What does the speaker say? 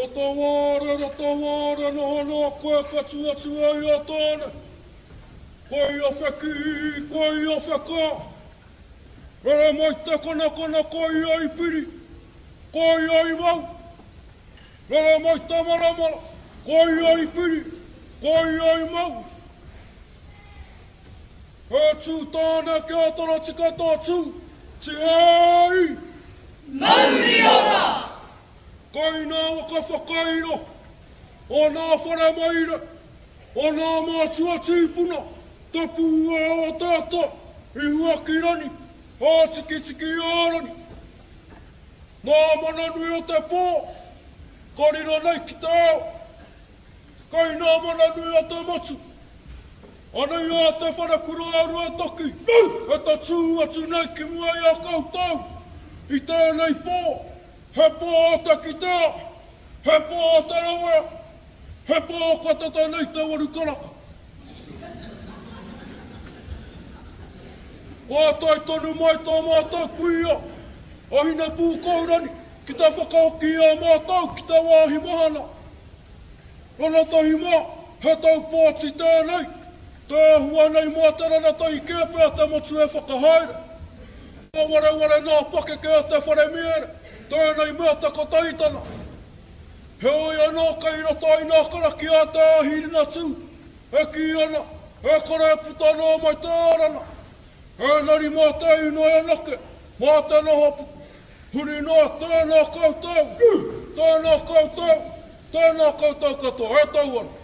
Rotawāre, Rotawāre, noho noa koe ka tū atu ai a Tāne. Koia whekī, koia whekā. Rere mai te konakona koia i piri, koia i mau. Rere mai te maramara, koia i piri, koia i mau. He tū tāne kia torotika tō tū, tihei! Mauri ora! Kai nā waka whakairo, o nā whare maire, o nā mātua tīpuna, te pūao o te ata, i Huakirangi, Hātikitiki-ā-rangi. Nā mana nui o te pō, ka riro nei ki te ao. Kai nā mana nui o te motu, anei a Te Wharekura a Ruatoki e tatū atu nei ki mua i a koutou i tēnei pō. He pō o te kitea, he pō o te rawea, he pō kua tata nei te waru karaka. Kua tae tonu mai tō mātou kuia, a Hinepūkohurangi, ki te whakahoki i a mātou ki te wāhi mahana. Rangatahi mā, he tau pōti tēnei, te āhua nei mā te rangatahi kē pea te motu e whakahaere. Ka wareware nā pakeke o te whare miere, tēnei mea te kotahitanga. Heoi anō kei roto i nā karakia a Te Ahi Ringatū, e kī ana, e kore e puta noa mai te ārana. Ēngari mā te inoi anake, mā te noho huri noa, tēnā koutou, tēnā koutou, tēnā koutou katoa, e tau ana.